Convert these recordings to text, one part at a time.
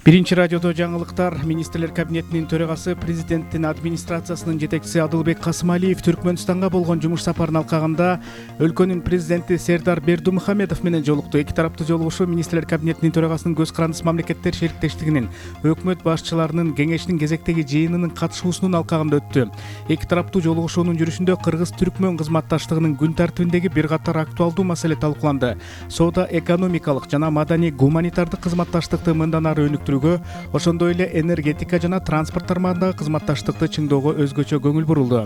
Биринчи радиодо жаңылыктар. Министрлер кабинетинин төрагасы президенттин администрациясынын жетекчиси Адылбек Касымалиев Түркмөнстанга болгон жумуш сапарын алкагында өлкөнүн президенти Сердар Бердумухамедов менен жолукту. Эки тараптуу жолугушуу министрлер кабинетинин төрагасынын көз карандысы мамлекеттер шериктештигинин өкмөт башчыларынын кеңешинин кезектеги жыйынынын катышуусунун алкагында өттү. Эки тараптуу жолугушуунун жүрүшүндө Кыргыз-Түркмөн кызматташтыгынын күн тартибиндеги бир катар актуалдуу маселе талкууланды. Соода экономикалык жана маданий гуманитардык кызматташтыкты мындан ары ошондой эле энергетика жана транспорт тармагындагы кызматташтыкты чыңоого өзгөчө көңүл бурулду.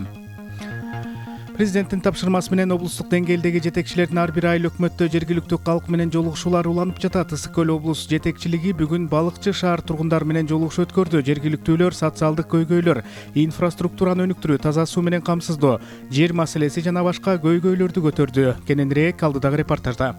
Президенттин тапшырмасы менен облустук деңгээлдеги жетекчилердин ар бир айыл өкмөттө жергиликтүү калк менен жолугушуулар уланып жатат. Ысык көл облус жетекчилиги бүгүн Балыкчы шаар тургундары менен жолугушуу өткөрдү. Жергиликтүүлөр социалдык көйгөйлөр, инфраструктураны өнүктүрүү, таза суу менен камсыздоо, жер маселеси жана башка көйгөйлөрдү көтөрдү. Кененирээк алдыдагы репортажда.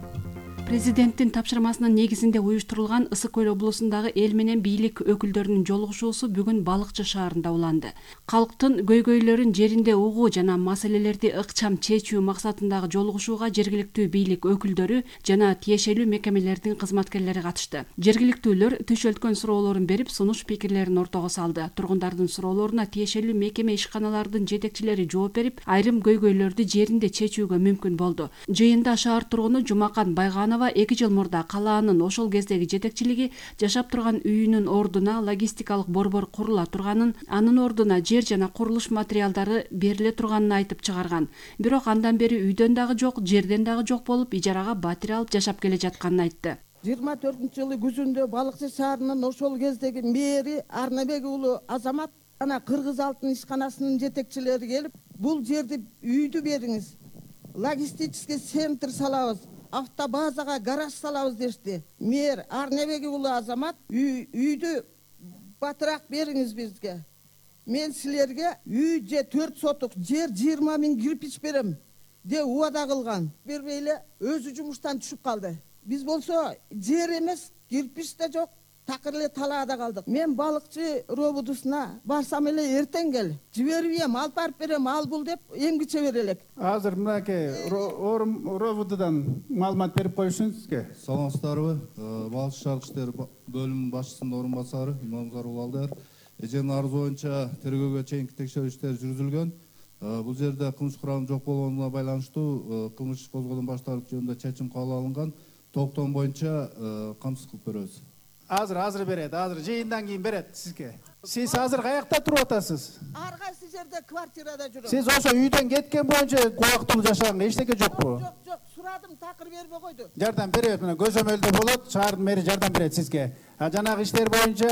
Президенттин тапшырмасынын негизинде уюштурулган Ысык көл облусундагы эл менен бийлик өкүлдөрүнүн жолугушуусу бүгүн Балыкчы шаарында уланды. Калктын көйгөйлөрүн жеринде угуу жана маселелерди ыкчам чечүү максатындагы жолугушууга жергиликтүү бийлик өкүлдөрү жана тиешелүү мекемелердин кызматкерлери катышты. Жергиликтүүлөр түшөлткөн суроолорун берип, сунуш пикирлерин ортого салды. Тургундардын суроолоруна тиешелүү мекеме ишканалардын жетекчилери жооп берип, айрым көйгөйлөрдү жеринде чечүүгө мүмкүн болду. Жыйында шаар тургуну Жумакан Байган 2 жыл мурда калаанын ошол кездеги жетекчилиги жашап турган үйүнүн ордуна логистикалык борбор курула турганын, анын ордуна жер жана курулуш материалдары бериле турганын айтып чыгарган. Бирок андан бери үйдөн дагы жок, жерден дагы жок болуп, ижарага батир алып жашап келе жатканын айтты. 24-жылы күзүндө Балыкчы шаарынын ошол кездеги мэри Арнабек уулу Азамат жана Кыргыз алтын ишканасынын жетекчилери келип, бул жерди үйдү бериңиз, логистический центр салабыз, автобазага гараж салабыз дешти. Мэр Арнабек уулу Азамат үйдү батыраак бериңиз бизге. Мен силерге үй же 4 сотук жер 20 000 кирпич берем деп убада кылган. Бербей эле өзү жумуштан түшүп калды. Биз болсо жер эмес, кирпич да жок, такыр эле талаада калдык. Мен Балыкчы робудусуна барсам эле эртең кел, жибербейм, алып барып берем, ал бул деп эмгиче берелек. Азыр мынакей робудудан маалымат берип коюшуңузга. Саламатсыздарбы? Балыкчы шаардык иштер бөлүмүнүн башчысынын орун басары Имамзар Улалдар. Эженин арызы боюнча тергөөгө чейинки текшерүү иштери жүргүзүлгөн. Бул жерде кылмыш курамынын жок болгонуна байланыштуу кылмыш козголгон башталык жөнүндө чечим кабыл алынган. Токтом боюнча камсыз кылып беребиз. Азыр берет, азыр жыйындан кийин берет сизге. Сиз азыр каякта туруп атасыз? Ар кайсы жерде квартирада жүрөм. Сиз ошо үйдөн кеткен боюнча убактылуу жашаганга эчтеке жокпу? Жок, сурадым, такыр бербей койду. Жардам берет, мына көзөмөлдө болот, шаардын мэри жардам берет сизге. Жанагы иштер боюнча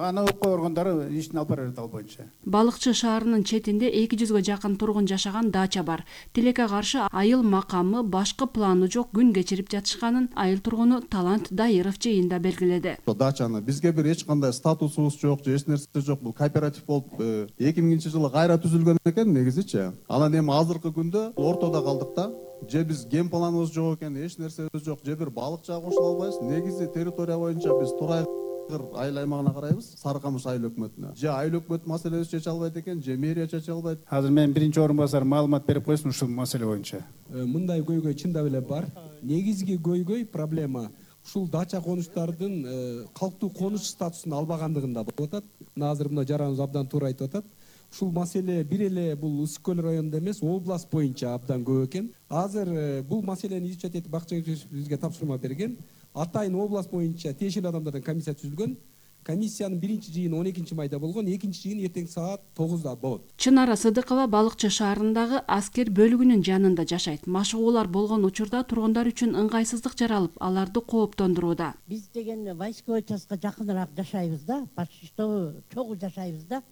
аны укук органдары ишин алып берет ал боюнча. Балыкчы шаарынын четинде 200га жакын тургун жашаган дача бар. Тилекке каршы айыл макамы башкы планы жок күн кечирип жатышканын айыл тургуну Талант Дайыров жыйында белгиледи. Дачаны бизге бир эч кандай статусубуз жок, же эч нерсе жок. Бул кооператив болуп 2000-жылы кайра түзүлгөн экен негизичи. Анан эми азыркы күндө ортодо калдык да. Же биз ген планыбыз жок экен, эч нерсебиз жок, же бир балыкчыга кошула албайбыз. Негизи территория боюнча биз Турай айыл аймагына карайбыз, Сары Камыш айыл өкмөтүнө. Же айыл өкмөт маселеси чече албайт экен, же мэрия чече албайт. Азыр мен биринчи орун басар маалымат берип койсун ушул маселе боюнча. Мындай көйгөй чындап эле бар. Негизги көйгөй проблема ушул дача конуштардын калктуу конуш статусун албагандыгында болуп атат. Азыр мына жараныбыз абдан туура айтып атат. Ушул маселе бир эле бул Ысык көл районунда эмес, область боюнча абдан көп экен. Азыр бул маселени изучать этип бакчы бизге тапшырма берген. Атайын область боюнча тиешелүү адамдардан комиссия түзүлгөн. Комиссиянын биринчи жыйыны 12 майда болгон, экинчи жыйын эртең саат 9да болот. Чынара Сыдыкова Балыкчы шаарындагы аскер бөлүгүнүн жанында жашайт. Машыгуулар болгон учурда тургундар үчүн ыңгайсыздык жаралып, аларды кооптондурууда. Биз деген войсковой частка жакыныраак жашайбыз да, почти что чогуу жашайбыз да.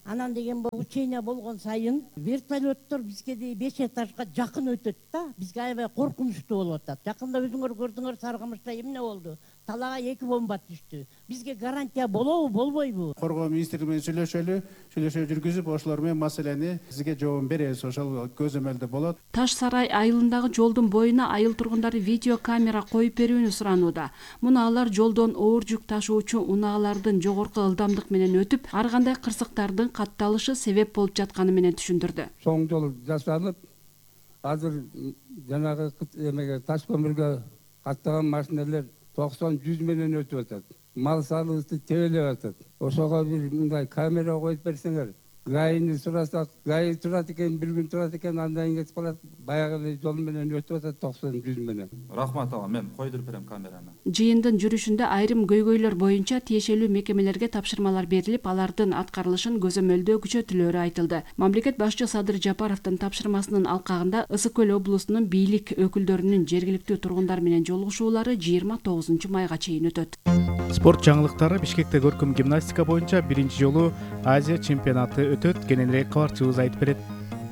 Анан деген учение болгон сайын вертолеттор бизге 5 этажга жакын өтөт да. Бизге аябай коркунучтуу болуп атат. Жакында өзүңөр көрдүңөр, Сары Камышта эмне болду? Талаага 2 бомба түштү. Бизге гарантия болобу, болбойбу? Коргоо министри менен сүйлөшүү жүргүзүп, ошолор менен маселени сизге жообун беребиз, ошол көзөмөлдө болот. Таш сарай айылындагы жолдун боюна айыл тургундары видео камера коюп берүүнү суранууда. Муну алар жолдон оор жүк ташуучу унаалардын жогорку ылдамдык менен өтүп, ар кандай кырсыктардын катталышы себеп болуп жатканы менен түшүндүрдү. Соң жол жасалып, азыр жанагы эмеге таш көмүргө каттаган машиналар 90-100 менен өтүп атат. мал салыбызды тебелеп атат. Ошого бир мындай камера коюп берсеңер, гайны сурасак, гай турат экен, бир күн турат экен, андан кийин кетип калат. Баягы эле жол менен өтүп атат 90-100 менен. Рахмат ага, мен койдуруп берем камераны. Жыйындын жүрүшүндө айрым көйгөйлөр боюнча тиешелүү мекемелерге тапшырмалар берилип, алардын аткарылышын көзөмөлдөө күчөтүлөрү айтылды. Мамлекет башчы Садыр Жапаровдун тапшырмасынын алкагында Ысык көл облусунун бийлик өкүлдөрүнүн жергиликтүү тургундар менен жолугушуулары 29 майга чейин өтөт. Спорт жаңылыктары Бишкекте көркөм гимнастика боюнча биринчи жолу Азия чемпионаты өтөт. Кененирээк кабарчыбыз айтып берет.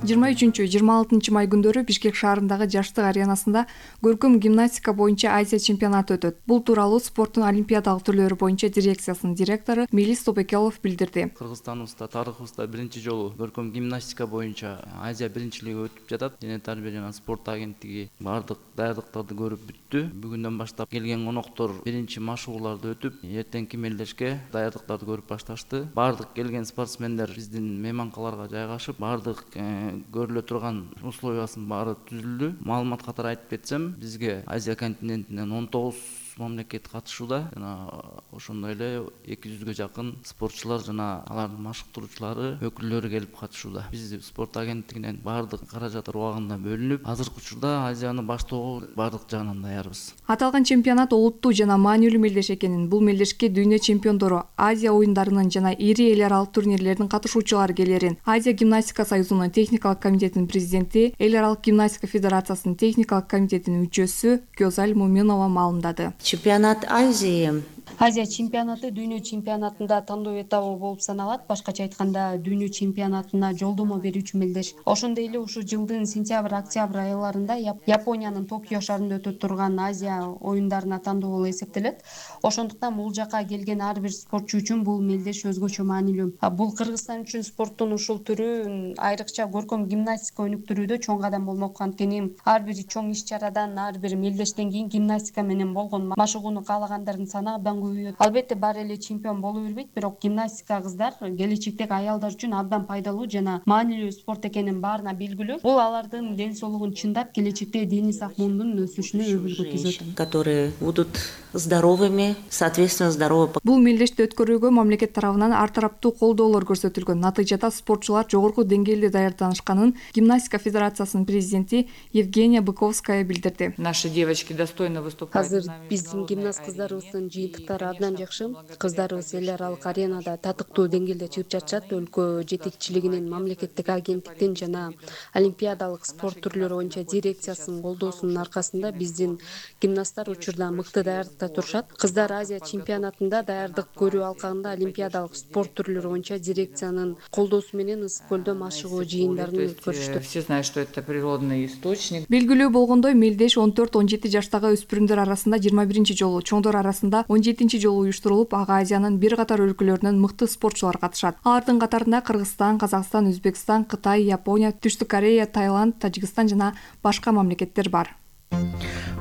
23-26 май күндөрү Бишкек шаарындагы Жаштык аренасында көркөм гимнастика боюнча Азия чемпионаты өтөт. Бул тууралуу спорттун олимпиадалык түрлөрү боюнча дирекциясынын директору Мелис Тобекелов билдирди. Кыргызстаныбызда, тарыхыбызда биринчи жолу көркөм гимнастика боюнча Азия биринчилиги өтүп жатат. Дене тарбия жана спорт агенттиги бардык даярдыктарды көрүп бүттү. Бүгүндөн баштап келген коноктор биринчи машыгууларды өтүп, эртеңки мелдешке даярдыктарды көрүп башташты. Бардык келген спортсмендер биздин мейманкаларга жайгашып, бардык көрүлө турган условиясынын баары түзүлдү. Маалымат катары айтып кетсем, бизге Азия континентинен 19 мамлекет катышууда жана ошондой эле 200гө жакын спортчулар жана алардын машыктыруучулары, өкүлдөрү келип катышууда. Биз спорт агенттигинен бардык каражаттар убагында бөлүнүп, азыркы учурда Азияны баштоого бардык жагынан даярбыз. Аталган чемпионат олуттуу жана маанилүү мелдеш экенин, бул мелдешке дүйнө чемпиондору, Азия оюндарынын жана ири эл аралык турнирлердин катышуучулары келерин Азия гимнастика союзунун техникалык комитетинин президенти, эл аралык гимнастика федерациясынын техникалык комитетинин мүчөсү Гёзаль Муминова маалымдады. Чемпионат Азии. Азия чемпионаты дүйнө чемпионатында тандоо этабы болуп саналат. Башкача айтканда, дүйнө чемпионатына жолдомо берүүчү мелдеш. Ошондой эле ушул жылдын сентябрь-октябрь айларында Япониянын Токио шаарында өтөт турган Азия оюндарына тандоо болуп эсептелет. Ошондуктан бул жака келген ар бир спортчу үчүн бул мелдеш өзгөчө маанилүү. Бул Кыргызстан үчүн спорттун ушул түрү айрыкча көркөм гимнастика өнүктүрүүдө чоң кадам болмок. Анткени ар бир чоң иш-чарадан, ар бир мелдештен кийин гимнастика менен болгон машыгууну каалагандардын саны абдан көбөйөт. Албетте баары эле чемпион боло бербейт, бирок гимнастика кыздар келечектеги аялдар үчүн абдан пайдалуу жана маанилүү спорт экенин баарына белгилүү. Бул алардын ден соолугун чындап, келечекте дени сак-муумдун өсүшүнө өбөлгө түзөт. Которые будут здоровыми, соответственно, здоровы. Бул мелдешти өткөрүүгө мамлекет тарабынан ар тараптуу колдоолор көрсөтүлгөн. Натыйжада спортчулар жогорку деңгээлде даярданышканын гимнастика федерациясынын президенти Евгения Быковская билдирди. Наши девочки достойно выступают. Азыр биздин гимнаст кыздарыбыздын жыйынтыктары абдан жакшы. Кыздарыбыз эл аралык аренада татыктуу деңгээлде чыгып жатышат. Өлкө жетекчилигинин, мамлекеттик агенттиктин жана олимпиадалык спорт түрлөрү боюнча дирекциясынын колдоосунун аркасында биздин гимнасттар учурда мыкты даярдыкта турушат. Кыздар Азия чемпионатында даярдык көрүү алкагында олимпиадалык спорт түрлөрү боюнча дирекциянын колдоосу менен Ысык көлдө машыгуу жыйындарын өткөрүштү. Все знают, что это природный источник. Белгилүү болгондой, мелдеш 14-17 жаштагы өспүрүмдөр арасында 21 жолу, чоңдор арасында 17 жолу уюштурулуп, ага Азиянын бир катар өлкөлөрүнөн мыкты спортчулар катышат. Алардын катарында Кыргызстан, Казакстан, Өзбекстан, Кытай, Япония, Түштүк Корея, Таиланд, Тажикстан жана башка мамлекеттер бар.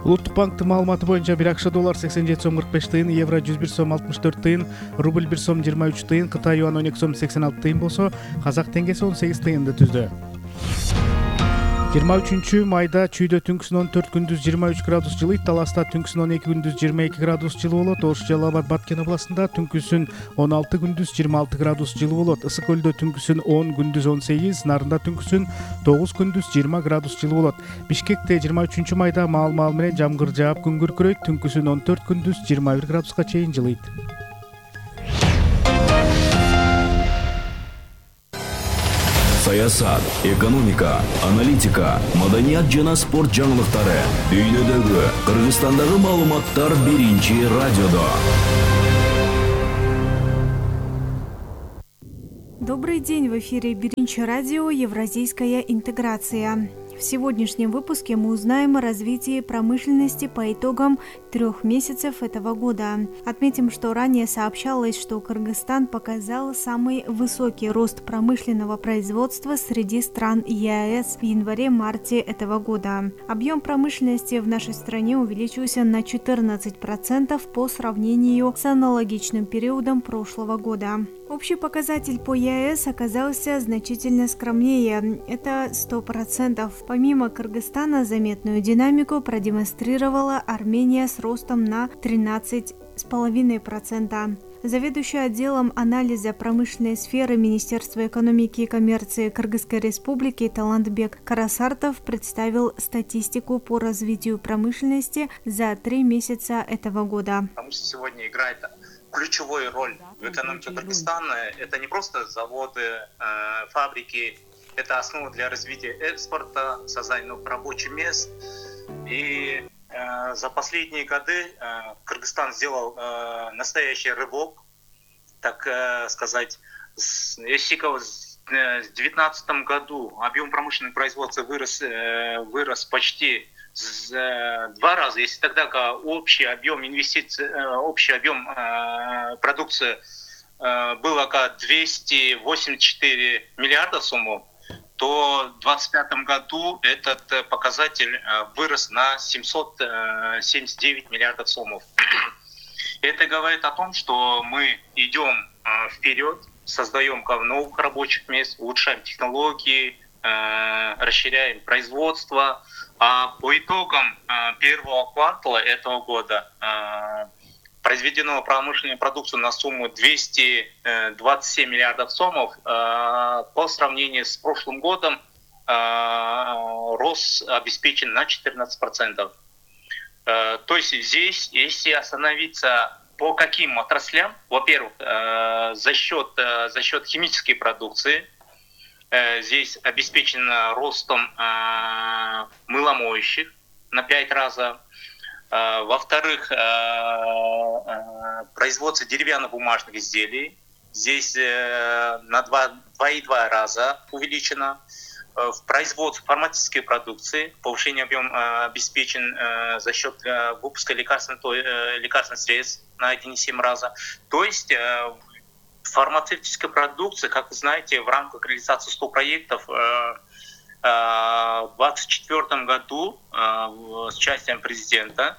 Улуттук банктын маалыматы боюнча бир акш доллар 87 сом 45 тыйын, евро 101 сом 64 тыйын, рубль 1 сом 23 тыйын, Кытай юан 12 сом 86 тыйын болсо, казак теңгеси 18 тыйынды түздү. 23 майда Чүйдө түнкүсүн 14, күндүз 23 градус жылыйт, Таласта түнкүсүн 12, күндүз 22 градус жылуу болот, Ош Жалал Абад Баткен областында түнкүсүн 16, күндүз 26 градус жылуу болот, Ысык көлдө түнкүсүн 10, күндүз 18, Нарында түнкүсүн 9, күндүз 20 градус жылуу болот. Бишкекте 23 майда маал-маал менен жамгыр жаап күн күркүрөйт, түнкүсүн 14, күндүз 21 градуска чейин жылыйт. Саясат, экономика, аналитика, маданият жана спорт жаңылыктары. Дүйнөдөгү, Кыргызстандагы маалыматтар биринчи радиодо. Добрый день, в эфире Биринчи радио «Евразийская интеграция». В сегодняшнем выпуске мы узнаем о развитии промышленности по итогам 3 месяцев этого года. Отметим, что ранее сообщалось, что Кыргызстан показал самый высокий рост промышленного производства среди стран ЕАЭС в январе-марте этого года. Объем промышленности в нашей стране увеличился на 14% по сравнению с аналогичным периодом прошлого года. Общий показатель по ЕАЭС оказался значительно скромнее, это 100%. Помимо Кыргызстана заметную динамику продемонстрировала Армения с ростом на 13%. 2,5%. Заведующий отделом анализа промышленной сферы Министерства экономики и коммерции Кыргызской Республики Талантбек Карасартов представил статистику по развитию промышленности за 3 месяца этого года. Промышленность сегодня играет ключевую роль в экономике Кыргызстана. Это не просто заводы, фабрики, это основа для развития экспорта, создания новых рабочих мест. И за последние годы Кыргызстан сделал настоящий рывок, так сказать. Если в 2019 году объем промышленного производства вырос почти в 2 раза, если тогда общий объем инвестиций, общий объем продукции был около 284 миллиарда сомов, то в 2025 году этот показатель вырос на 779 миллиардов сомов. Это говорит о том, что мы идем вперед, создаем новых рабочих мест, улучшаем технологии, расширяем производство. А по итогам первого квартала этого года произведено промышленную продукцию на сумму 227 миллиардов сомов. По сравнению с прошлым годом рост обеспечен на 14%. То есть здесь, если остановиться по каким отраслям, во-первых, за счет химической продукции, здесь обеспечено ростом мыломоющих на 5 раз. Во-вторых, производство деревянно-бумажных изделий здесь на 2,2 раза увеличено. В производстве фармацевтической продукции повышение объема обеспечен за счет выпуска лекарственных средств на 1,7 раза. То есть фармацевтическая продукция, как вы знаете, в рамках реализации 100 проектов в 2024 году с участием президента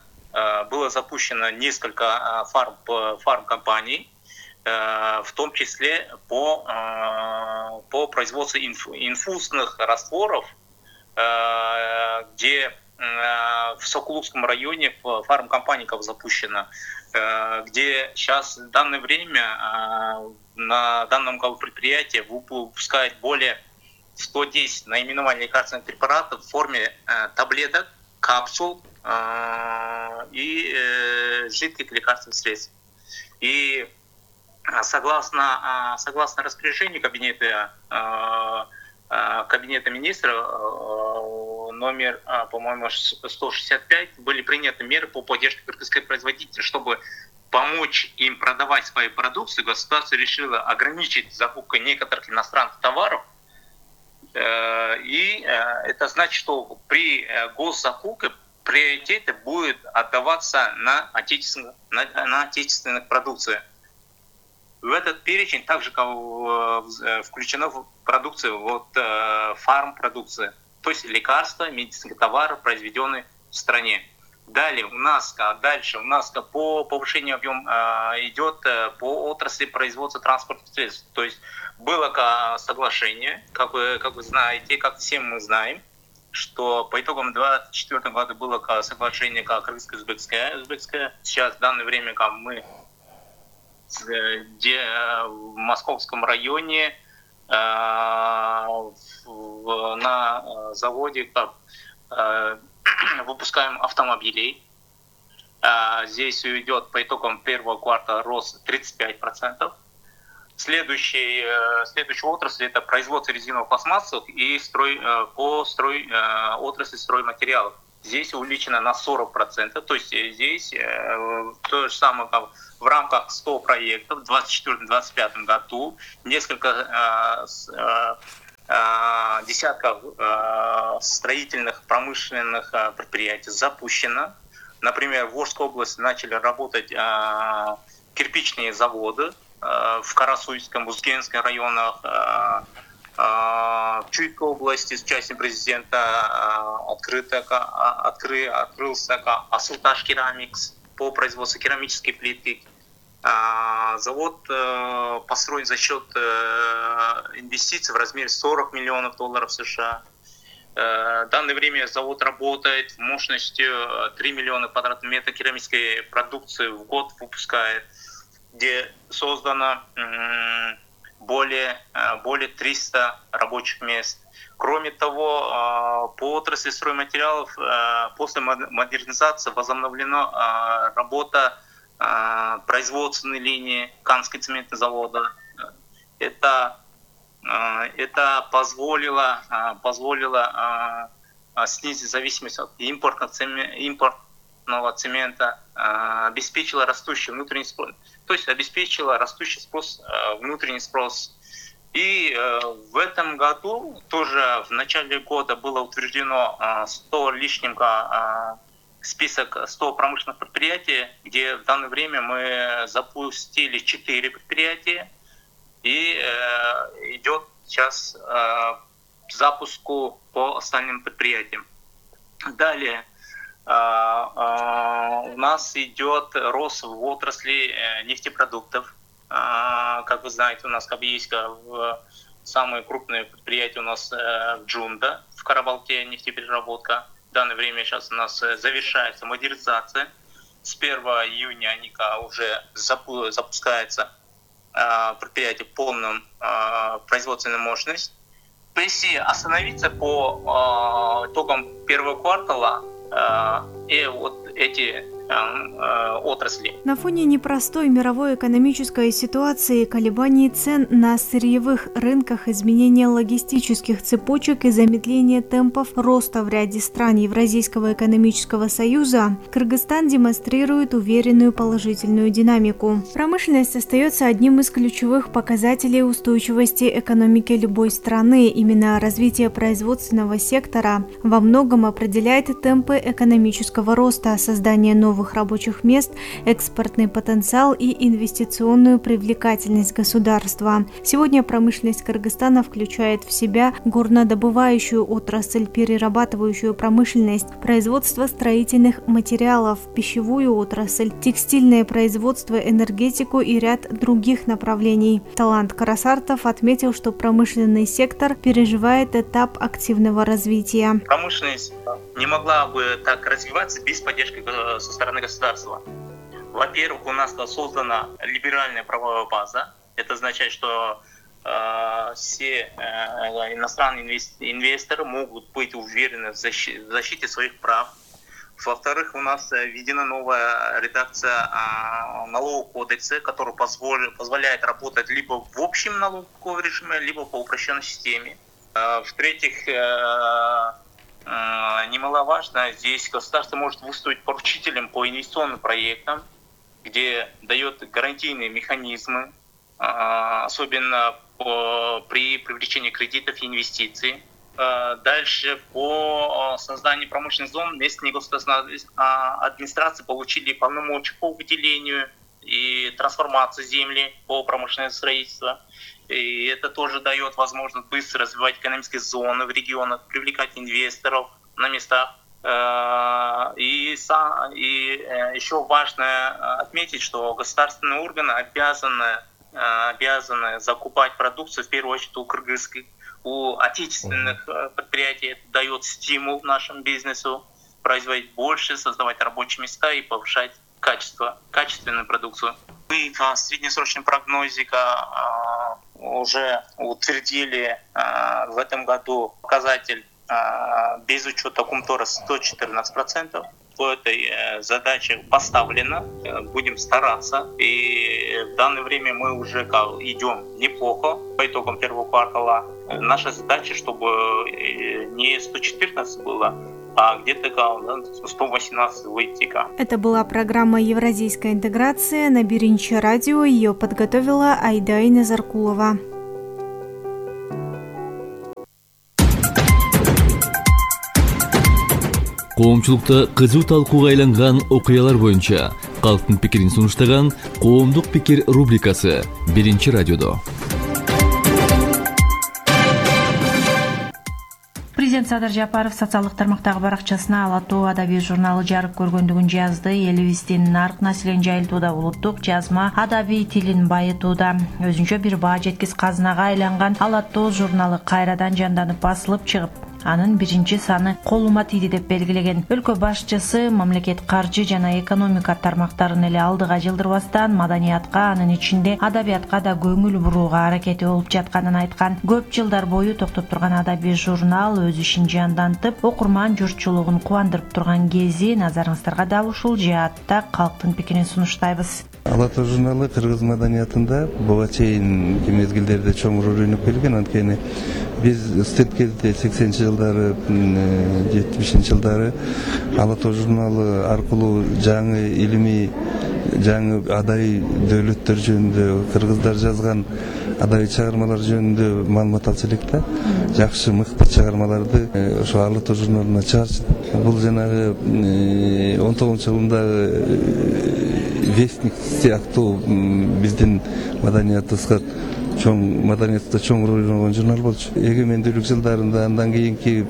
было запущено несколько фармкомпаний, в том числе по производству инфузных растворов, где в Сокулукском районе фармкомпания запущена, где сейчас в данное время на данном предприятии выпускают более 110 наименований лекарственных препаратов в форме таблеток, капсул и жидких лекарственных средств. И согласно распоряжению Кабинета министров номер, по-моему, 165, были приняты меры по поддержке кыргызских производителей, чтобы помочь им продавать свою продукцию. Государство решило ограничить закупку некоторых иностранных товаров. И это значит, что при госзакупке приоритет будет отдаваться на отечественных продукциях. В этот перечень также включена продукция, фармпродукция, то есть лекарства, медицинские товары, произведенные в стране. Далее у нас по повышению объема идет по отрасли производства транспортных средств. То есть было соглашение, как вы знаете, как все мы знаем, что по итогам 2024 года было соглашение кыргызско-узбекское. Сейчас в данное время мы где в Московском районе на заводе выпускаем автомобилей. Здесь идет по итогам первого квартала рост 35%. Следующая отрасль — это производство резиновых пластмассов и отрасль стройматериалов. Здесь увеличено на 40%. То есть здесь то же самое, как в рамках 100 проектов в 2024-2025 году несколько десятков строительных промышленных предприятий запущено. Например, в Волжской области начали работать кирпичные заводы, в Карасуйском, Узгенском районах, в Чуйской области с участием президента открылся Асылташ Керамикс по производству керамической плиты. Завод построен за счет инвестиций в размере $40 миллионов США. В данное время завод работает мощностью 3 миллиона квадратных метров керамической продукции в год выпускает, где создано более 300 рабочих мест. Кроме того, по отрасли стройматериалов после модернизации возобновлена работа производственной линии Канского цементного завода. Это позволило снизить зависимость от импортного цемента, обеспечило растущий внутренний спрос, то есть обеспечило растущий спрос, внутренний спрос. И в этом году тоже в начале года было утверждено 100 лишним список 100 промышленных предприятий, где в данное время мы запустили 4 предприятия. И идет сейчас запуску по остальным предприятиям. Далее у нас идет рост в отрасли нефтепродуктов. Как вы знаете, у нас Кабийска, самые крупные предприятия у нас в Джунда, в Карабалке нефтепереработка. В данное время сейчас у нас завершается модернизация. С 1 июня НИКа уже запускается предприятие полную производственную мощность. Если остановиться по итогам первого квартала и вот эти отрасли. На фоне непростой мировой экономической ситуации, колебаний цен на сырьевых рынках, изменения логистических цепочек и замедления темпов роста в ряде стран Евразийского экономического союза, Кыргызстан демонстрирует уверенную положительную динамику. Промышленность остается одним из ключевых показателей устойчивости экономики любой страны. Именно развитие производственного сектора во многом определяет темпы экономического роста, создание новых рабочих мест, экспортный потенциал и инвестиционную привлекательность государства. Сегодня промышленность Кыргызстана включает в себя горнодобывающую отрасль, перерабатывающую промышленность, производство строительных материалов, пищевую отрасль, текстильное производство, энергетику и ряд других направлений. Талант Карасартов отметил, что промышленный сектор переживает этап активного развития. Промышленность не могла бы так развиваться без поддержки со стороны государства. Во-первых, у нас создана либеральная правовая база. Это означает, что все иностранные инвесторы могут быть уверены в защите своих прав. Во-вторых, у нас введена новая редакция налогового кодекса, которая позволяет работать либо в общем налоговом режиме, либо по упрощенной системе. В-третьих, немаловажно, здесь государство может выступить поручителем по инвестиционным проектам, где дает гарантийные механизмы, особенно при привлечении кредитов и инвестиций. Дальше по созданию промышленных зон местные государственные администрации получили полномочия по выделению и трансформации земли по промышленному строительству. И это тоже дает возможность быстро развивать экономические зоны в регионах, привлекать инвесторов на местах. И еще важно отметить, что государственные органы обязаны закупать продукцию, в первую очередь у отечественных предприятий. Это дает стимул нашему бизнесу производить больше, создавать рабочие места и повышать качественную продукцию. Мы в среднесрочном прогнозе уже утвердили в этом году показатель без учета Кумтора 114%. По этой задаче поставлено, будем стараться. И в данное время мы уже идем неплохо по итогам первого квартала. Наша задача, чтобы не 114 было, а где-то 118 выйти. Это была программа «Евразийская интеграция» на Биринчи радио. Ее подготовила Айдай Назаркулова. Коомчулукта кызуу талкууга айланган окуялар боюнча калктын пикирин сунуштаган «Коомдук пикир» рубрикасы Биринчи радиодо. Президент Садыр Жапаров социалдык тармактагы баракчасына Ала Тоо адабий журналы жарык көргөндүгүн жазды. Элибиздин нарк населен жайылтууда улуттук жазма адабий тилин байытууда. Өзүнчө бир баа жеткис казынага айланган Ала Тоо журналы кайрадан жанданып басылып чыгып, анын 1-саны колума тийди деп белгилеген. Өлкө башчысы мамлекет каржы жана экономика тармактарын эле алдыга жылдырбастан маданиятка, анын ичинде адабиятка да көңүл бурууга аракети болуп жатканын айткан. Көп жылдар бою токтоп турган адабий журнал өз ишин жандантып, окурман журтчулугун кубандырып турган кези назарыңыздарга дал ушул жаатта калктын пикирин сунуштайбыз. Ала Тоо журналы кыргыз маданиятында буга чейинки мезгилдерде чоң роль ойноп келген. Анткени биз студент кезде 80-жылдары, 70-жылдары Ала Тоо журналы аркылуу жаңы илимий, жаңы адайый дөөлөттөр жөнүндө, кыргыздар жазган адайый чыгармалар жөнүндө маалымат алчу элек да. Жакшы, мыкты чыгармаларды ошо Ала Тоо журналына чыгарчу. Бул жанагы 19-жылдагы Вестник сыяктуу биздин маданиятыбызга маданиятта чоң роль ойногон журнал болчу. Эгемендүүлүк жылдарында, андан кийинки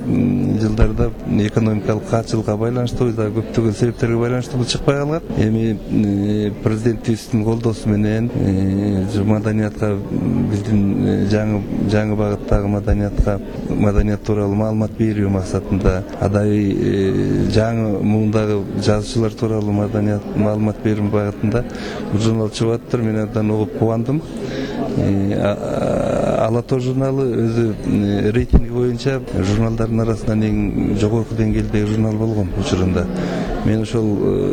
жылдарда экономикалык каатчылыкка байланыштуу, көптөгөн себептерге байланыштуу бул чыкпай калган. Эми президентибиздин колдоосу менен маданиятка, биздин жаңы багыттагы маданият тууралуу маалымат берүү максатында, адайый жаңы муундагы жазуучулар тууралуу маалымат берүү багытында бул журнал чыгып атыптыр. Мен андан угуп кубандым. Ала Тоо журналы өзү рейтинги боюнча журналдардын арасынан эң жогорку деңгээлдеги журнал болгон учурунда. Мен ошол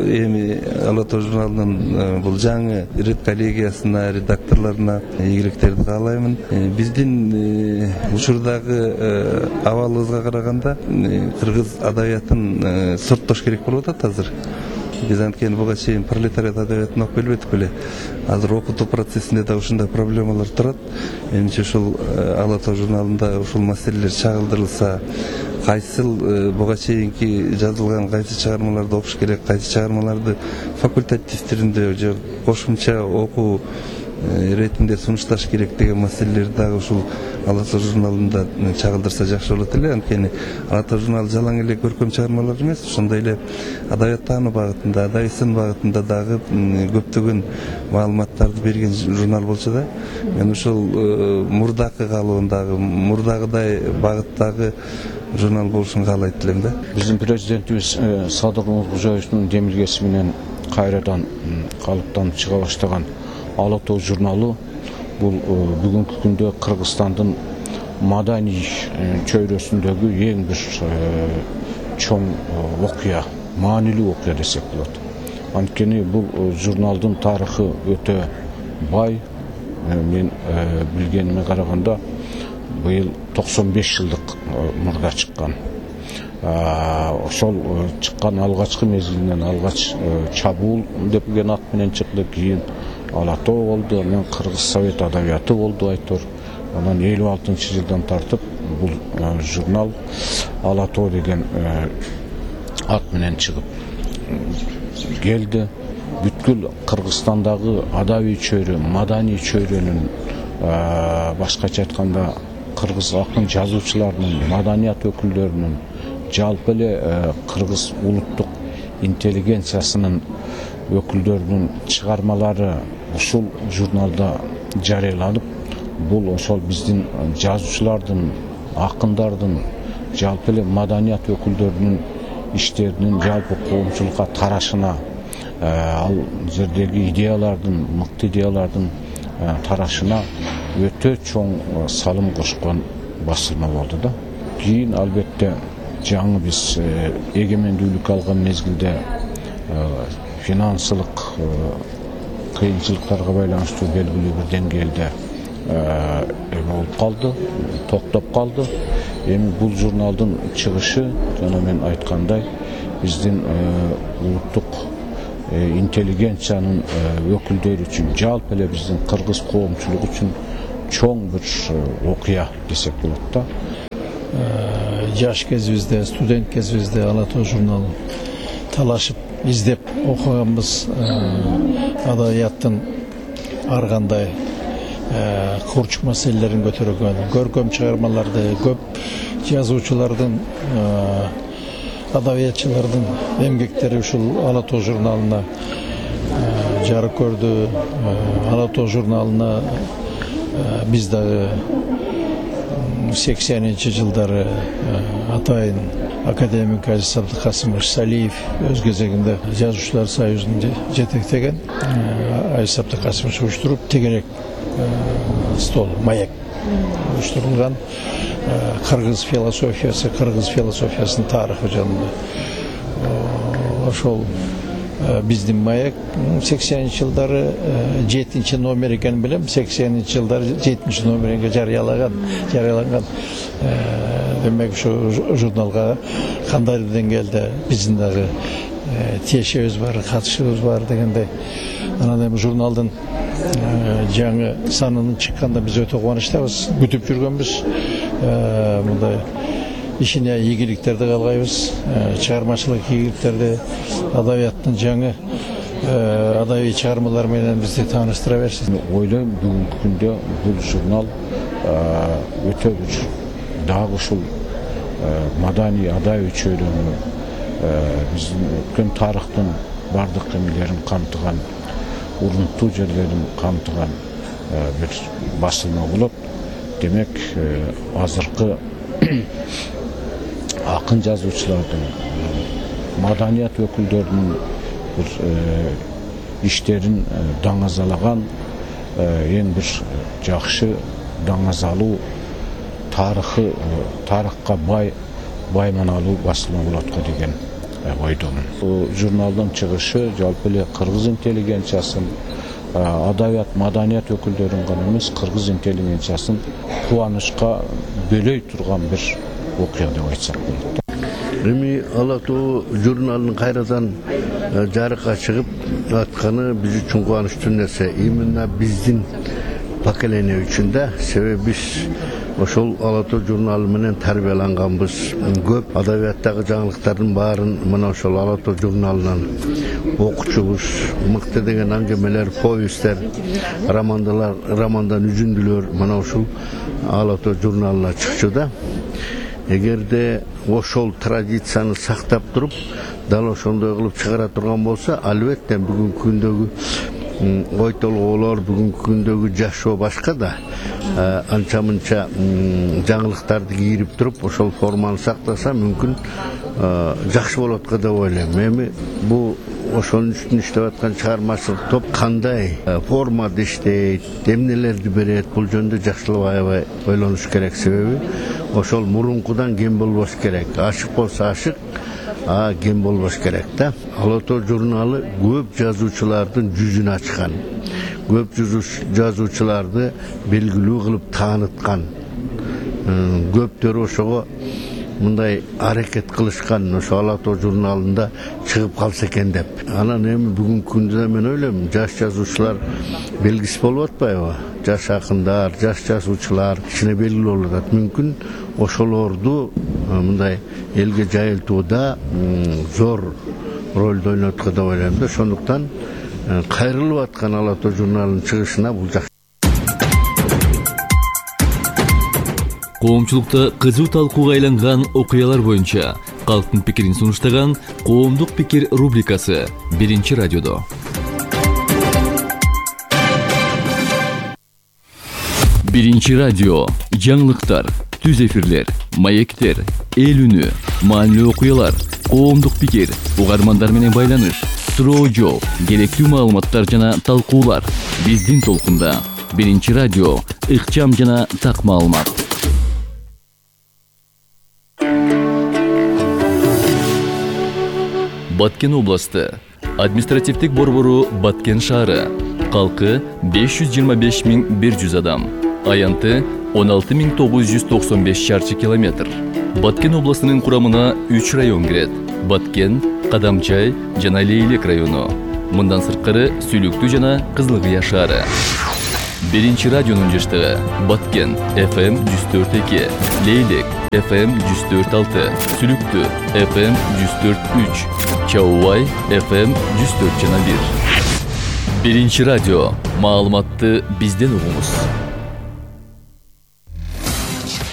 эми Ала Тоо журналынын бул жаңы редколлегиясына, редакторлоруна ийгиликтерди каалаймын. Биздин учурдагы абалыбызга караганда кыргыз адабиятын сорттош керек болуп атат азыр. Биз анткени буга чейин пролетариат адабиятын окуп келбедик беле. Азыр окутуу процессинде да ушундай проблемалар турат. Менимче ушул Ала Тоо журналында ушул маселелер чагылдырылса, кайсыл буга чейинки жазылган кайсы чыгармаларды окуш керек, кайсы чыгармаларды факультатив түрүндө же кошумча окуу иретинде сунушташ керек деген маселелерди дагы ушул Ала Тоо журналында чагылдырса жакшы болот эле. Анткени Ала Тоо журналы жалаң эле көркөм чыгармалар эмес, ошондой эле адабият таануу багытында, адабий сын багытында дагы көптөгөн маалыматтарды берген журнал болчу да. Мен ушул мурдакы калыбындагы, мурдагыдай багыттагы журнал болушун каалайт элем да. Биздин президентибиз Садыр Нуркожоевдун демилгеси менен кайрадан калыптанып чыга баштаган Ала Тоо журналы бул бүгүнкү күндө Кыргызстандын маданий чөйрөсүндөгү эң бир чоң окуя, маанилүү окуя десек болот. Анткени бул журналдын тарыхы өтө бай. Мен билгениме караганда быйыл 95 жылдык мурда чыккан. Ошол чыккан алгачкы мезгилинен алгач чабуул деген ат менен чыкты, кийин Ала Тоо болду, анан Кыргыз Совет адабияты болду айтор. Анан 56-жылдан тартып бул журнал Ала Тоо деген ат менен чыгып келди. Бүткүл Кыргызстандагы адабий чөйрө, маданий чөйрөнүн, башкача айтканда кыргыз акын жазуучуларынын, маданият өкүлдөрүнүн, жалпы эле кыргыз улуттук интеллигенциясынын өкүлдөрүнүн чыгармалары ушул журналда жарыяланып, бул ошол биздин жазуучулардын, акындардын, жалпы эле маданият өкүлдөрүнүн иштеринин жалпы коомчулукка тарашына, ал жердеги идеялардын, мыкты идеялардын тарашына өтө чоң салым кошкон басылма болду да. Кийин албетте жаңы биз эгемендүүлүк алган мезгилде финансылык кыйынчылыктарга байланыштуу белгилүү бир деңгээлде болуп калды, токтоп калды. Эми бул журналдын чыгышы, жана мен айткандай, биздин улуттук интеллигенциянын өкүлдөрү үчүн, жалпы эле биздин кыргыз коомчулугу үчүн чоң бир окуя десек болот да. Жаш кезибизде, студент кезибизде Ала Тоо журналын талашып издеп окуганбыз. Адабияттын ар кандай курчук маселелерин көтөргөн, көркөм чыгармаларды, көп жазуучулардын, адабиятчылардын эмгектери ушул Ала Тоо журналына жарык көрдү. Ала Тоо журналына биз дагы 80-ci жылдары атайын академик Азиз Абдыкасымович Салиев өз кезегинде жазуучулар союзун жетектеген Азиз Абдыкасымович уюштуруп тегерек стол маяк уюштурулган кыргыз философиясынын тарыхы жөнүндө ошол биздин маяк 80-ci жылдары 7-ci номер экенин билем. 80-ci жылдары 7-ci номеринге жарыяланган. Демек ушу журналга кандай деңгээлде биздин дагы тиешебиз бар, катышыбыз бар дегендей. Анан эми журналдын жаңы санынын чыкканда биз өтө кубанычтабыз. Күтүп жүргөнбүз. Мындай ишине ийгиликтерди каалайбыз, чыгармачылык ийгиликтерди, адабияттын жаңы адабий чыгармалар менен бизди тааныштыра берсин. Ойлойм бүгүнкү күндө бул журнал өтө бир дагы ушул маданий адабий чөйрөнү биздин өткөн тарыхтын бардык эмелерин камтыган, урунттуу жерлерин камтыган бир басылма болот. Демек азыркы акын жазуучулардын, маданият өкүлдөрүнүн бир иштерин даңазалаган эң бир жакшы даңазалуу тарыхка бай маналуу басылма болот го деген ойдомун. Бул журналдын чыгышы жалпы эле кыргыз интеллигенциясын, адабият, маданият өкүлдөрүн гана эмес, кыргыз интеллигенциясын кубанычка бөлөй турган бир окуя деп айтсак болот. Эми Ала тоо журналынын кайрадан жарыкка чыгып атканы биз үчүн кубанычтуу нерсе. Именно биздин поколение үчүн да, себеби биз ошол Ала тоо журналы менен тарбияланганбыз. Көп адабияттагы жаңылыктардын баарын мына ошол Ала тоо журналынан окучубуз. Мыкты деген аңгемелер, повесттер, романдан үзүндүлөр мына ушул Ала тоо журналына чыкчу да. Эгерде ошол традицияны сактап туруп, дал ошондой кылып чыгара турган болсо, албетте бүгүнкү күндөгү ой толгоолор, бүгүнкү күндөгү жашоо башка да. Анча-мынча жаңылыктарды кийирип туруп, ошол форманы сактаса мүмкүн жакшы болот го деп ойлойм. Эми бул ошонун үстүнө иштеп аткан чыгармачылык топ кандай формада иштейт, эмнелерди берет, бул жөнүндө жакшылап аябай ойлонуш керек. Себеби ошол мурункудан кем болбош керек. Ашык болсо ашык, кем болбош керек да. Ала тоо журналы көп жазуучулардын жүзүн ачкан. Көп жазуучуларды белгилүү кылып тааныткан. Көптөрү ошого мындай аракет кылышкан, ошо Ала тоо журналында чыгып калса экен деп. Анан эми бүгүнкү күндө мен ойлойм, жаш жазуучулар белгиси болуп атпайбы? Жаш акындар, жаш жазуучулар ичине белгилүү болуп атат. Мүмкүн ошолорду мындай элге жайылтууда зор ролду ойноткон деп ойлойм да. Ошондуктан кайрылып аткан Ала тоо журналынын чыгышына бул жакшы. Коомчулукта кызуу талкууга айланган окуялар боюнча калктын пикирин сунуштаган Коомдук пикир рубрикасы Биринчи радиодо. Биринчи радио жаңылыктар, түз эфирлер, маектер, эл үнү, маанилүү окуялар, коомдук пикир, угармандар менен байланыш, суроо жооп, керектүү маалыматтар жана талкуулар биздин толкунда. Биринчи радио ыкчам жана так маалымат. Баткен областы, административдик борбору Баткен шаары, калкы 525.100 адам, аянты 16.995 шарчы километр. Баткен областынын курамына 3 район кирет: Баткен, Кадамчай жана Лейлек району. Мындан сырткары Сүйлүктүү жана Кызылкыя шаары. Биринчи радионун жаштыгы: Баткен FM 104.2, Лейлек FM 104.6, Сүлүктүү FM 104.3, Чаубай FM 104.1. Биринчи радио, маалыматты бизден угуңуз.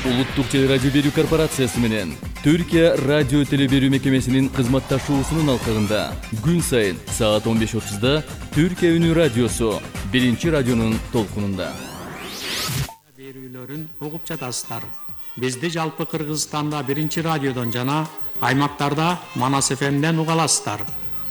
Улуттук телерадио берүү корпорациясы менен Түркия радио телеберүү мекемесинин кызматташуусунун алкагында күн сайын саат 15:30 Түркия үнү радиосу Биринчи радионун толкунунда. берүүлөрүн угуп жатасыздар. Бизди жалпы Кыргызстанда 1-радиодон жана аймактарда Манас ФМден уга аласыздар.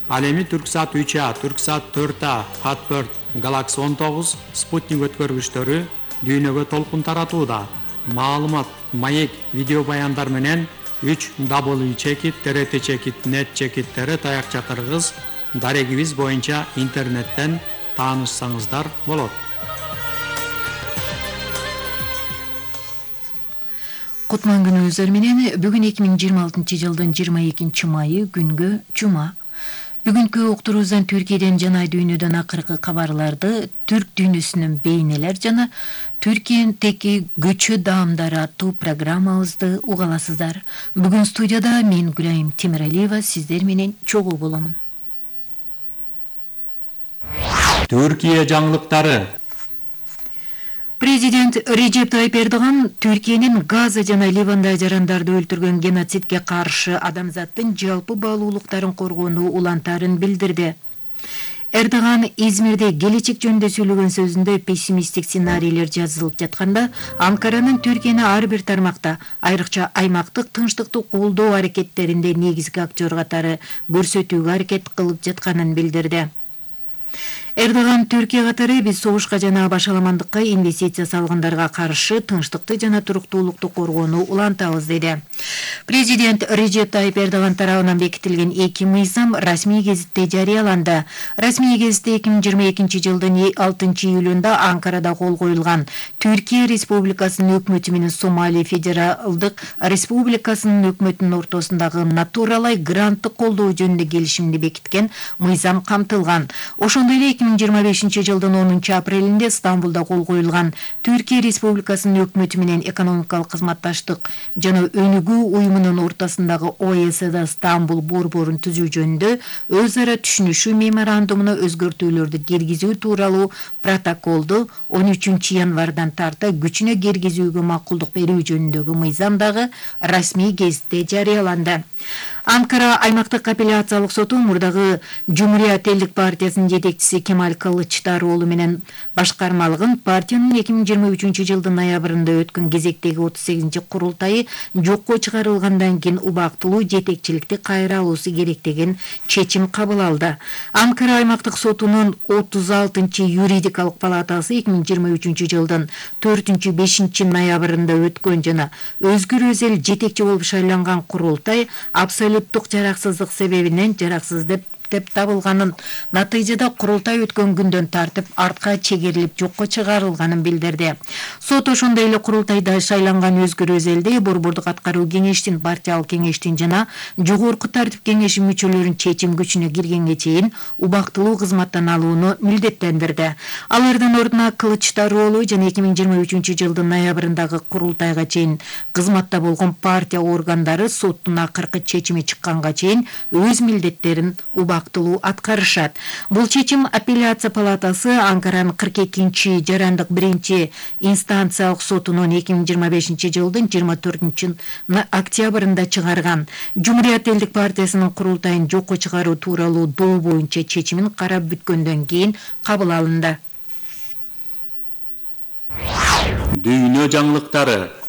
Ал эми Түрксат 3А, Түрксат 4А, Хатберт, Galaxy 19 спутник өткөргүчтөрү дүйнөгө толкун таратууда. Маалымат, маек, видео баяндар менен 3w.trt.net таякча дарегибиз боюнча интернеттен таанышсаңыздар болот. Кутман күнүңүздөр менен бүгүн 2026 жылдын 22 майы күнгө жума. Бүгүнкү уктуруубуздан Түркияден жана дүйнөдөн акыркы кабарларды, түрк дүйнөсүнүн бейнелер жана Түркиядеги көчө даамдары аттуу программабызды уга аласыздар. Бүгүн студияда мен Гүлайым Темиралиева сиздер менен чогуу боломун. Түркия жаңылыктары. Президент Режеп Тайып Эрдоган Түркиянын Газа жана Ливанда жарандарды өлтүргөн геноцидке каршы адамзаттын жалпы баалуулуктарын коргоону улантарын билдирди. Эрдоган Измирде келечек жөнүндө сүйлөгөн сөзүндө пессимисттик сценарийлер жазылып жатканда, Анкаранын Түркияны ар бир тармакта, айрыкча аймактык тынчтыкты колдоо аракеттеринде негизги актер катары көрсөтүүгө аракет кылып жатканын билдирди. Эрдоган Түркия катары биз согушка жана башаламандыкка инвестиция салгандарга каршы тынчтыкты жана туруктуулукту коргоону улантабыз деди. Президент Режеп Тайып Эрдоган тарабынан бекитилген 2 мыйзам расмий гезитте жарыяланды. Расмий гезитте 2022 жылдын 6 июлунда Анкарада кол коюлган Түркия Республикасынын өкмөтү менен Сомали Федералдык Республикасынын өкмөтүнүн ортосундагы натуралай гранттык колдоо жөнүндө келишимди бекиткен мыйзам камтылган. Ошондой эле 2025 жылдын 10 апрелинде Стамбулда кол коюлган Түркия Республикасынын өкмөтү менен экономикалык кызматташтык жана өнүгүү уюмунун ортосундагы ОЭСД Стамбул борборун түзүү жөнүндө өз ара түшүнүшүү меморандумуна өзгөртүүлөрдү киргизүү тууралуу протоколду 13 январдан тарта күчүнө киргизүүгө макулдук берүү жөнүндөгү мыйзам дагы расмий гезитте жарыяланды. Анкара аймактык апелляциялык соту мурдагы Жумурият элдик партиясынын жетекчиси Кемаль Кылычдароğlu менен башкармалыгын партиянын 2023 жылдын ноябрында өткөн кезектеги 38 курултайы жокко чыгарылгандан кийин убактылуу жетекчиликти кайра алуусу керек деген чечим кабыл алды. Анкара аймактык сотунун 36 юридикалык палатасы 2023 жылдын 4-5 ноябрында өткөн жана Өзгүр Өзел жетекчи болуп шайланган курултай абсолюттук жараксыздык себебинен жараксыз деп табылганын, натыйжада курултай өткөн күндөн тартып артка чегерилип жокко чыгарылганын билдирди. Сот ошондой эле курултайда шайланган Өзгүр Өзелди борбордук аткаруу кеңештин, партиялык кеңештин жана жогорку тартип кеңеши мүчөлөрүнүн чечим күчүнө киргенге чейин убактылуу кызматтан алууну милдеттендирди. Алардын ордуна Кылычдароğlu жана 2023 жылдын ноябрындагы курултайга чейин кызматта болгон партия органдары соттун акыркы чечими чыкканга чейин өз милдеттерин убактылуу аткарышат. Бул чечим апелляция палатасы Анкаранын 42 жарандык 1-инстанциялык сотунун 2025 жылдын 24 октябрында чыгарган. Жумурият элдик партиясынын курултайын жокко чыгаруу тууралуу доо боюнча чечимин карап бүткөндөн кийин кабыл алынды. Дүйнө жаңылыктары.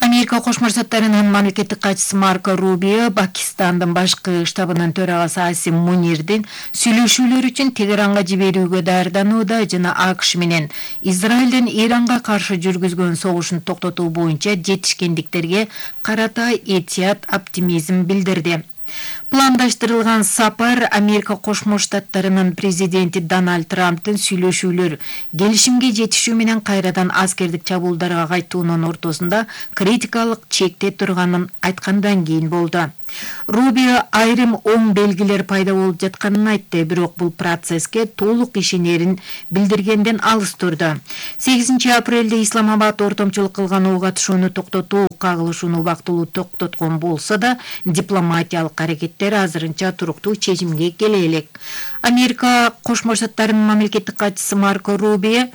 Америка Кошмо Штаттарынын мамлекеттик катчысы Марко Рубио Пакистандын башкы штабынын төрагасы Асим Мунирдин сүйлөшүүлөр үчүн Тегеранга жиберүүгө даярданууда жана АКШ менен Израилдин Иранга каршы жүргүзгөн согушун токтотуу боюнча жетишкендиктерге карата этият оптимизм билдирди. Пландаштырылган сапар Америка Кошмо Штаттарынын президенти Дональд Трамптын сүйлөшүүлөр келишимге жетишүү менен кайрадан аскердик чабуулдарга кайтуунун ортосунда критикалык чекте турганын айткандан кийин болду. Рубио айрым оң белгилер пайда болуп жатканын айтты, бирок бул процесске толук ишенерин билдиргенден алыс турду. 8 апрелде Исламабад ортомчулук кылган ок атышууну токтотуу кагылышууну убактылуу токтоткон болсо да, дипломатиялык аракеттер азырынча туруктуу чечимге келе элек. Америка Кошмо Штаттарынын мамлекеттик катчысы Марко Рубио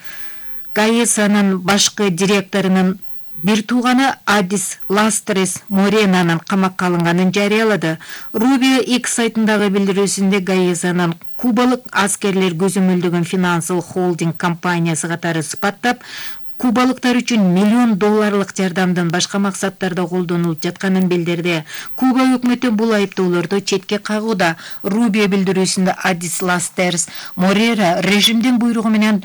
ГАЭСанын башкы директорунун бир тууганы Адис Ластрес Моренанын камакка алынганын жарыялады. Рубио X сайтындагы билдирүүсүндө ГАЭСанын кубалык аскерлер көзөмөлдөгөн финансылык холдинг компаниясы катары сыпаттап, кубалыктар үчүн $1 миллион жардамдын башка максаттарда колдонулуп жатканын билдирди. Куба өкмөтү бул айыптоолорду четке кагууда. Рубио билдирүүсүндө Адис Ластерс Морера режимдин буйругу менен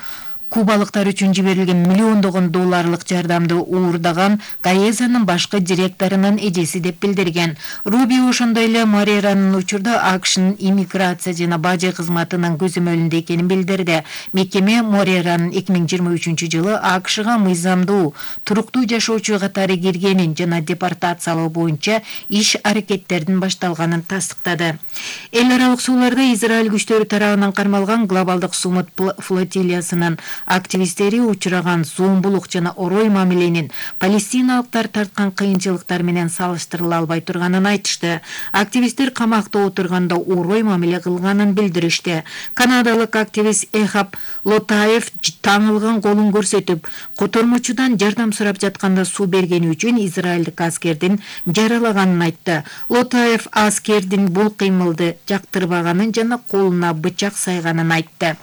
кубалыктар үчүн жиберилген $1 жардамды уурдаган Гаезанын башкы директорунун эжеси деп билдирген. Рубио ошондой эле Мореранын учурда АКШнын иммиграция жана бажы кызматынын көзөмөлүндө экенин билдирди. Мекеме Мореранын 2023-жылы АКШга мыйзамдуу, туруктуу жашоочу катары киргенин жана депортациялоо боюнча иш аракеттердин башталганын тастыктады. Эл аралык сууларда Израиль күчтөрү тарабынан кармалган глобалдык сумут флотилиясынын активисттери учураган зомбулук жана орой мамиленин палестиналыктар тарткан кыйынчылыктар менен салыштырыла албай турганын айтышты. Активисттер камакта отурганда орой мамиле кылганын билдиришти. Канадалык активист Эхаб Лотаев таңылган колун көрсөтүп, котормочудан жардам сурап жатканда суу бергени үчүн израилдик аскердин жаралаганын айтты. Лотаев аскердин бул кыймылды жактырбаганын жана колуна бычак сайганын айтты.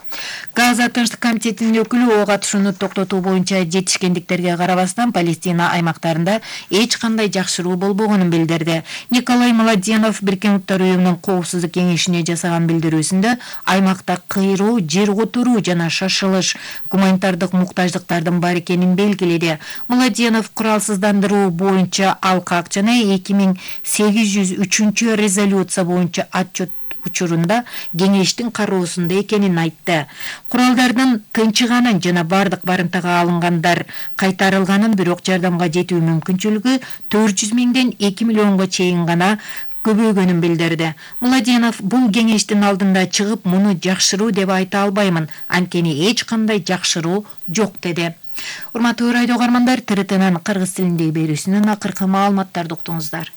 Газа Тынчтык комитетинин өкүлү ок атышууну токтотуу боюнча жетишкендиктерге карабастан Палестина аймактарында эч кандай жакшыруу болбогонун билдирди. Николай Младенов Бириккен Уттар уюмунун коопсуздук кеңешине жасаган билдирүүсүндө аймакта кыйроо, жер которуу жана шашылыш, гуманитардык муктаждыктардын бар экенин белгиледи. Младенов куралсыздандыруу боюнча алкак жана 2803 резолюция боюнча отчет учурунда кеңештин кароосунда экенин айтты. Куралдардын тынчыганын жана бардык барымтага алынгандар кайтарылганын, бирок жардамга жетүү мүмкүнчүлүгү 400 миңден 2 миллионго чейин гана көбөйгөнүн билдирди. Младенов бул кеңештин алдында чыгып, муну жакшыруу деп айта албаймын, анткени эч кандай жакшыруу жок деди. Урматтуу радио угармандар, ТРТнын кыргыз тилиндеги берүүсүнүн акыркы маалыматтарды уктуңуздар.